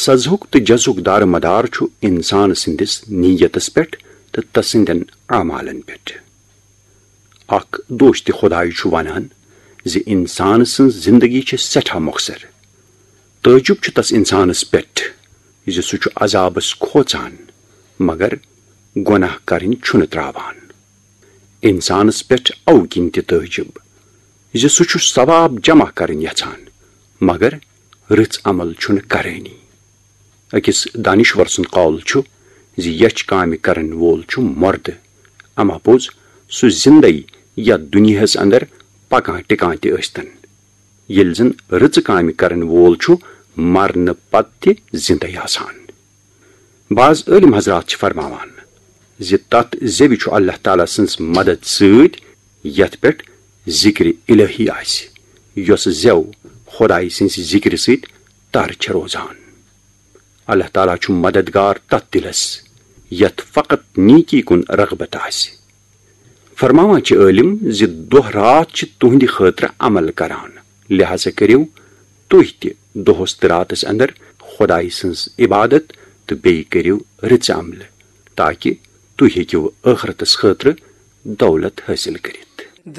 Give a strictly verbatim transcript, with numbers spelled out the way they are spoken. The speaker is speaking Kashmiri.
سزہُک تہٕ جزہُک دارمدار چھُ انسان سٕنٛدِس نیتس پٮ۪ٹھ تہٕ تسٕنٛدٮ۪ن اعمالن پٮ۪ٹھ۔ اکھ دوست خدایہِ چھُ ونان زِ انسان سٕنٛز زندگی چھِ سٮ۪ٹھاہ مۄخصر۔ تعجب چھُ تس انسانس پٮ۪ٹھ زِ سُہ چھُ عذابس کھوژان، مگر گۄناہ کرٕنۍ چھُنہٕ تراوان۔ انسانس پٮ۪ٹھ اوٕ کِنۍ تہِ تعجب زِ سُہ چھُ ثواب جمع کرٕنۍ یژھان، مگر رٕژ عمل چھُنہٕ کرٲنی۔ أکِس دانشور سُنٛد قول چھُ زِ یچھ کامہِ کرن وول چھُ مردٕ، اما پوٚز سُہ زِندَے یتھ دُنیاہس اندر پکان ٹکان تہِ ٲسۍتن، ییٚلہِ زن رٕژٕ کامہِ کرن وول چھُ مرنہٕ پتہٕ تہِ زِندَے آسان۔ بعض عٲلم حضرات چھِ فرماوان زِ تتھ زٮ۪وِ چھُ اللہ تعالیٰ سٕنٛز مدد سۭتۍ یتھ پٮ۪ٹھ ذکر الہی آسہِ، یۄس زٮ۪و خدایہِ سٕنٛزِ ذکرِ سۭتۍ تر چھےٚ روزان۔ اللہ تعالیٰ چھُ مددگار تتھ دِلس یتھ فقط نیکی کُن رغبت آسہِ۔ فرماوان چھِ عٲلم زِ دۄہ راتھ چھِ تُہنٛدِ خٲطرٕ عمل کران، لہذا کٔرِو تُہۍ تہِ دۄہس تہٕ راتس اندر خدایہِ سٕنٛز عبادت تہٕ بیٚیہِ کٔرِو رٕژٕ عملہٕ، تاکہِ تُہۍ ہیٚکِو ٲخرتس خٲطرٕ دولت حٲصِل کٔرِتھ۔